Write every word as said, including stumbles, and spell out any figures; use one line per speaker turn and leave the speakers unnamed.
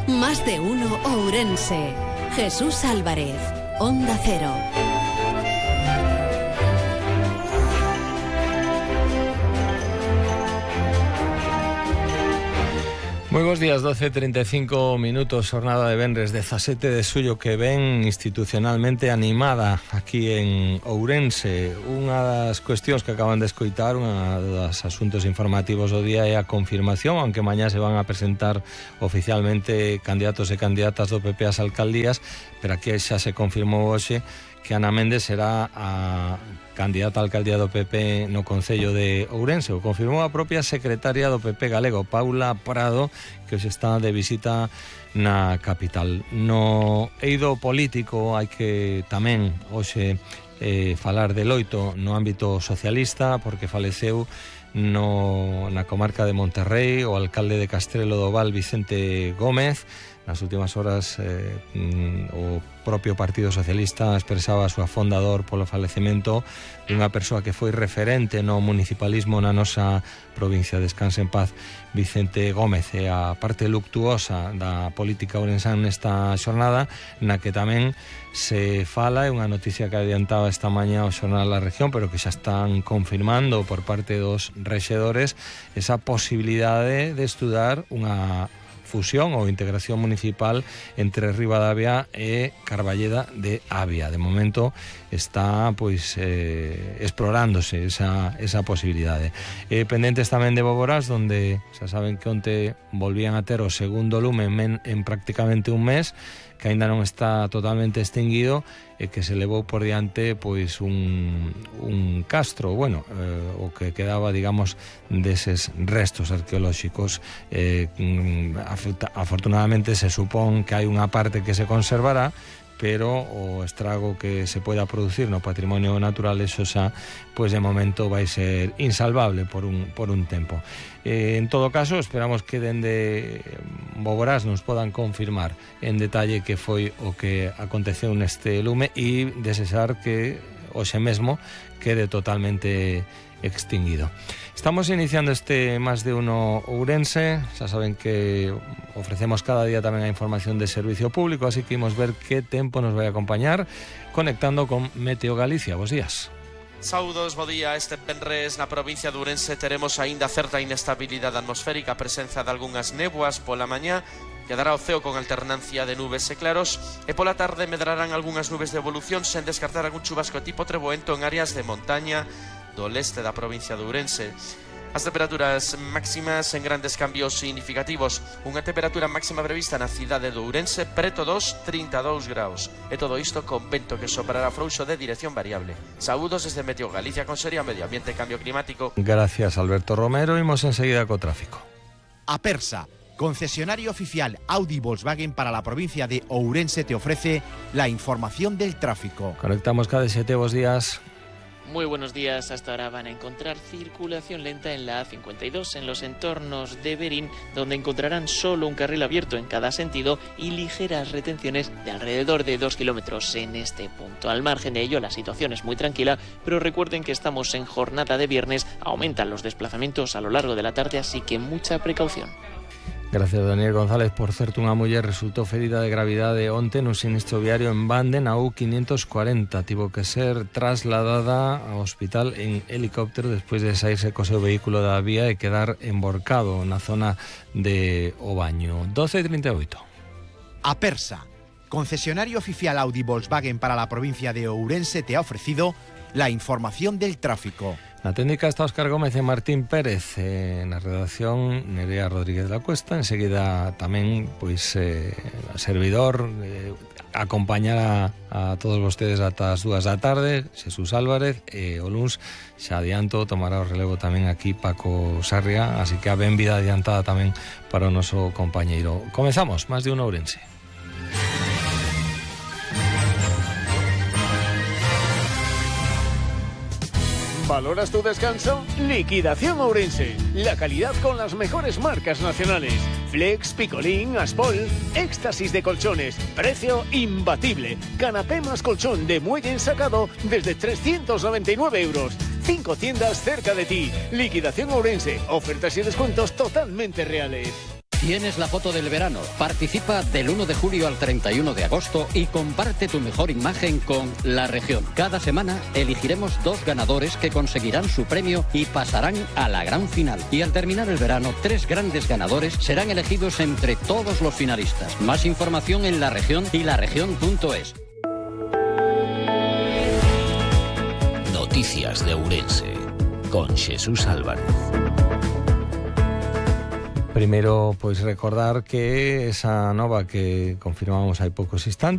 Más de uno Ourense. Jesús Álvarez, Onda Cero.
Moi bons días, doce e trinta e cinco minutos, jornada de venres dezasete de xullo que ven institucionalmente animada aquí en Ourense. Unha das cuestións que acaban de escoitar, unha dos asuntos informativos do día é a confirmación, aunque mañá se van a presentar oficialmente candidatos e candidatas do P P ás alcaldías, pero aquí xa se confirmou hoxe que Ana Méndez será a candidata a alcaldía do P P no Concello de Ourense. O confirmou a propia secretaria do P P galego, Paula Prado, que hoxe está de visita na capital. No eido político hai que tamén hoxe eh, falar de loito no ámbito socialista, porque faleceu no, na comarca de Monterrey o alcalde de Castrelo do Val, Vicente Gómez. Nas últimas horas eh, o propio Partido Socialista expresaba a súa fondador polo falecemento dunha persoa que foi referente no municipalismo na nosa provincia. Descanse en paz Vicente Gómez. E a parte luctuosa da política ourensán nesta xornada, na que tamén se fala, é unha noticia que adiantaba esta mañá o Xornal da Región, pero que xa están confirmando por parte dos rexedores esa posibilidade de estudar unha fusión ou integración municipal entre Ribadavia e Carballeda de Avia. De momento está pois eh, explorándose esa, esa posibilidade. Eh, pendentes tamén de Boborás, donde xa saben que onte volvían a ter o segundo lume en, en prácticamente un mes, que aínda non está totalmente extinguido e que se levou por diante pois un, un castro, bueno, eh, o que quedaba, digamos, deses restos arqueolóxicos. Eh, afortunadamente se supón que hai unha parte que se conservará, pero o estrago que se poida producir no patrimonio natural, eso xa, pois de momento vai ser insalvable por un, por un tempo. Eh, en todo caso, esperamos que dende Boborás nos podan confirmar en detalle que foi o que aconteceu neste lume e desexar que hoxe mesmo quede totalmente extinguido. Estamos iniciando este Más de Uno Ourense. Xa saben que ofrecemos cada día tamén a información de servicio público, así que imos ver que tempo nos vai acompañar conectando con Meteo Galicia. Bos días.
Saúdos, bo día. Este venres na provincia de Ourense teremos aínda certa inestabilidade atmosférica, a presenza de algunhas néboas pola mañá. Quedará o ceo con alternancia de nubes e claros, e pola tarde medrarán algunhas nubes de evolución, sen descartar algún chubasco tipo treboento en áreas de montaña do leste da provincia de Ourense. As temperaturas máximas en grandes cambios significativos. Unha temperatura máxima prevista na cidade de Ourense preto dos trinta e dous graus. E todo isto con vento que soprará frouxo de dirección variable. Saúdos desde Meteo Galicia, Consellería Medio Ambiente e Cambio Climático.
Gracias, Alberto Romero. Imos enseguida co tráfico.
Apersa, concesionario oficial Audi Volkswagen para la provincia de Ourense, te ofrece la información del tráfico.
Conectamos cada siete. Bos días.
Muy buenos días. Hasta ahora van a encontrar circulación lenta en la A cincuenta y dos en los entornos de Berín, donde encontrarán solo un carril abierto en cada sentido y ligeras retenciones de alrededor de dos kilómetros en este punto. Al margen de ello, la situación es muy tranquila, pero recuerden que estamos en jornada de viernes, aumentan los desplazamientos a lo largo de la tarde, así que mucha precaución.
Gracias, Daniel González. Por certo, unha muller resultou ferida de gravidade onte nun sinistro viario en Bande, na U quinientos cuarenta. Tivo que ser trasladada ao hospital en helicóptero despois de saírse co seu vehículo da vía e quedar emborcado na zona de Obaño. doce e trinta e oito.
Apersa, concesionario oficial Audi Volkswagen para la provincia de Ourense, te ha ofrecido la información del tráfico.
Na técnica está Óscar Gómez e Martín Pérez, eh, na redacción Nerea Rodríguez de la Cuesta. Enseguida tamén pois eh, a servidor eh, acompañará a todos vostedes ata as dúas da tarde, Jesús Álvarez, e o luns xa adianto tomará o relevo tamén aquí Paco Sarria, así que a benvida adiantada tamén para o noso compañeiro. Comezamos, Más de Uno Ourense.
¿Valoras tu descanso? Liquidación Ourense. La calidad con las mejores marcas nacionales. Flex, Picolín, Aspol. Éxtasis de colchones. Precio imbatible. Canapé más colchón de muelle ensacado desde trescientos noventa y nueve euros. Cinco tiendas cerca de ti. Liquidación Ourense. Ofertas y descuentos totalmente reales.
Tienes la foto del verano. Participa del uno de julio al treinta y uno de agosto y comparte tu mejor imagen con La Región. Cada semana elegiremos dos ganadores que conseguirán su premio y pasarán a la gran final. Y al terminar el verano, tres grandes ganadores serán elegidos entre todos los finalistas. Más información en La Región y laregion punto es.
Noticias de Ourense con Jesús Álvarez.
Primeiro, pois recordar que esa nova que confirmamos hai poucos instantes